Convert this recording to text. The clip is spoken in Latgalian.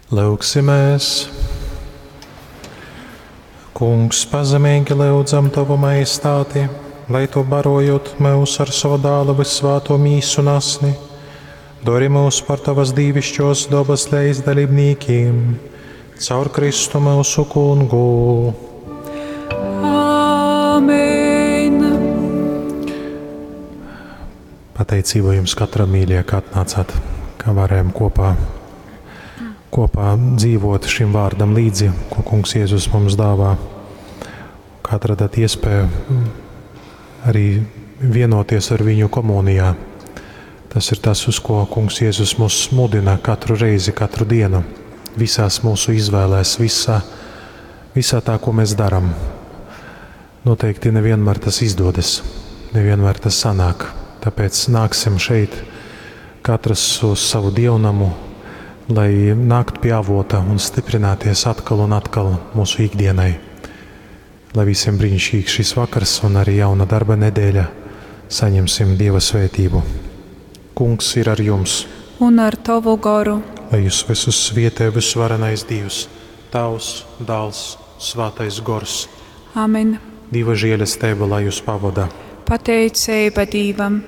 Lyugsimēs! Kungs, pazemeigi lyudzam Tovu majestāti, lai Tu barojot myus ar sova dāla vyssvāto mīsu un asni, dori mūs par Tavas dīvišķos dobas leizdalībnīkiem, caur Kristu myusu kungu. Āmen! Pateicība jums katram mīļie, ka atnācāt, ka varējām kopā, kopā dzīvot šim vārdam līdzi, ko Kungs Jēzus mums dāvā. Ka atradat iespēju arī vienoties ar viņu komunijā. Tas ir tas, uz ko Kungs Jēzus mūs mudina katru reizi, katru dienu, visās mūsu izvēlēs, visā, visā tā, ko mēs darām. Noteikti nevienmēr tas izdodas, nevienmēr tas sanāk. Tāpēc nāksim šeit katrs uz savu dievnamu, lai nāktu pie avota un stiprināties atkal un atkal mūsu ikdienai. Lai visiem brīnišķīgs šis vakars un arī jauna darba nedēļa saņemsim Dieva svētību. Kungs ir ar jums, Un ar tavu goru. lai jūs visus svietē visvarenais Dievs, Tavs, Dāls, Svētais Gors. Amen. Dieva žēlastība, lai jūs pavada. Pateicība Dievam.